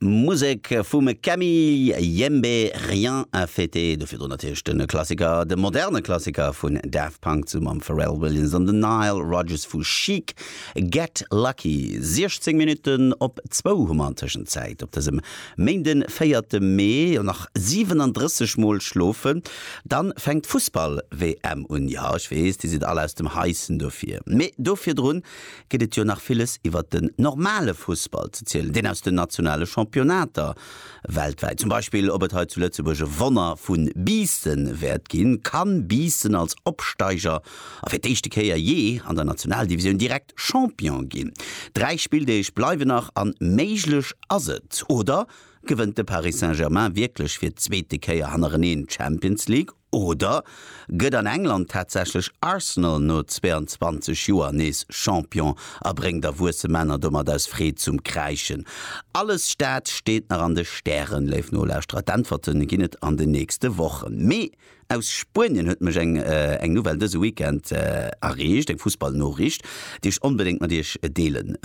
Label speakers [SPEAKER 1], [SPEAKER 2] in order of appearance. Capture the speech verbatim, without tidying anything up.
[SPEAKER 1] Musek vum Camille Yembe, Rien à fêter. Do virdrun natierlech de Klassiker, de moderne Klassiker vun Daft Punk zesumme mam Pharrell Williams an den Nile Rodgers vu Chic, Get Lucky. siechzéng Minutten op zwou hu mer an Tëschenzäit op dësem Méinden, véierte Mee. Jo, nach siwenandrësseg Mol schlofen, dann fänkt d'Fussball-W M un. Jo, ech weess, dir sidd all aus dem Haischen dofir. Mee do virdrun gëtt et jo nach villes iwwert den normale Fussball ze zielen, deen aus den nationale Championnater weltwäit. Zum Beispill, ob et hei zu Lëtzebuerg e Wonner vu Biissen wäert ginn. Kann Biissen als Opsteiger a fir d'éischte Kéier jee an der Nationaldivisioun direkt Champion ginn? Dräi Spilldeeg bleiwen nach an méiglech ass et. Oder gewënnt de Paris Saint-Germain wierklech fir d'zweete Kéier hannereneen d'Champions League? Oder gëtt an England tatsächlech Arsenal no zweeanzwanzeg Joer nees Champion a bréngt erwuesse Männer domat aus Freed zum Kräischen? Alles dat steet nach an de Stären, léif Nolauschterer. D'Äntwerte ginn et an den nächste Wochen. Mee aus Spuenien huet mech eng eng Nouvelle dëse Weekend erreecht, eng Fussballnoriicht, déi ech onbedéngt mat iech deele